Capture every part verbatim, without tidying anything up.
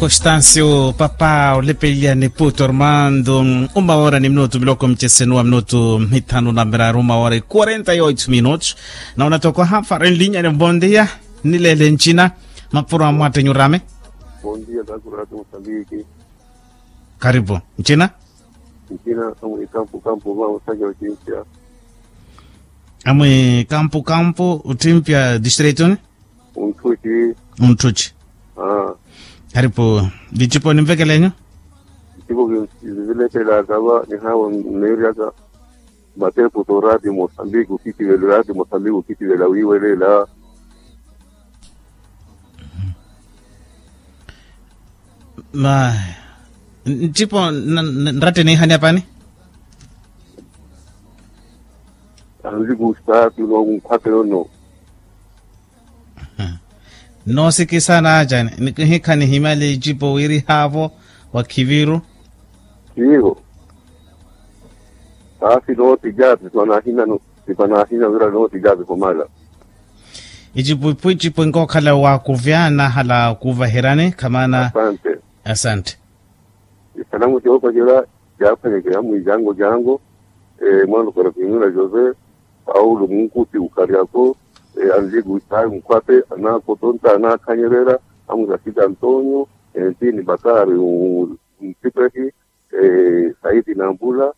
Constancio papa olepeliya ni puto armando. Uma hora ni minutu miloko mchesenu wa minutu mithanu na miraru uma hora quarenta e oito minutos. Na unatokoha faren linya ni bondia. Nilele nchina mapuro amwate nyurame. Bondia takurati mosambiki. Karibu nchina. Nchina amwe kampu kampu ma usanja uchimpya. Amwe kampu kampu utimpya distritoni. Unthuci. Unthuci. Karipu. Vicipo ninvekelenyu. Vicipo vivilekelaka va nihawa nneeryaka. Matepu to rati mosambiki ukitivela rati mosambiki ukitivela wiiwelela. Ma ncipo nratte niihani apani. Anzi kustaatu no nkhwate yono. Noosikisa naacani nikihikha nihimale icipo wirihaavo wa khiviru. Siivo. Aasi nooti jaapi sipanahina wira nooti jaapi khumala. Icipo icipo inkookhala waakuvya nahala kuvaheryani khamaana. Asante. Isalamu coopacerya caaphwanyeke amwi jango jango. Mwaana okora kimina jose paulo munkuti ukharyako. Anriku isayi nkhwape anakotonta anaakhanyerera amwi rasita antonio. Ntini bakari ntipehi. Saidi nambula.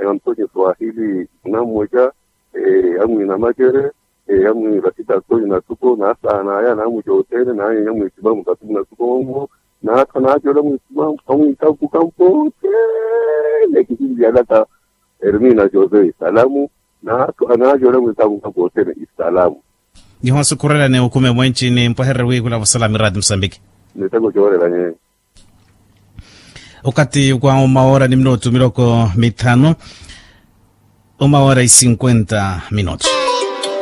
Antonio swahili nammweca. Amwi namacere. Amwi rasita antonio natuko nasaanaya namwi jothene nanyenya mwisimamu katuku natuko. Naatha naacola mwisimamu amwi kakuka mpoothene kisinjiyalaka. Ermina jose isalamu. Naatha naacola mwikakuka koothene isalamu. Nihosukhurela ni ukhume mwenci ni mpwehererye wiikhula vasala mirati musambiki. Miteko coorelanye. Okathi wa uma hora ni minutu miloko mithanu. Uma hora i cinquenta minutu.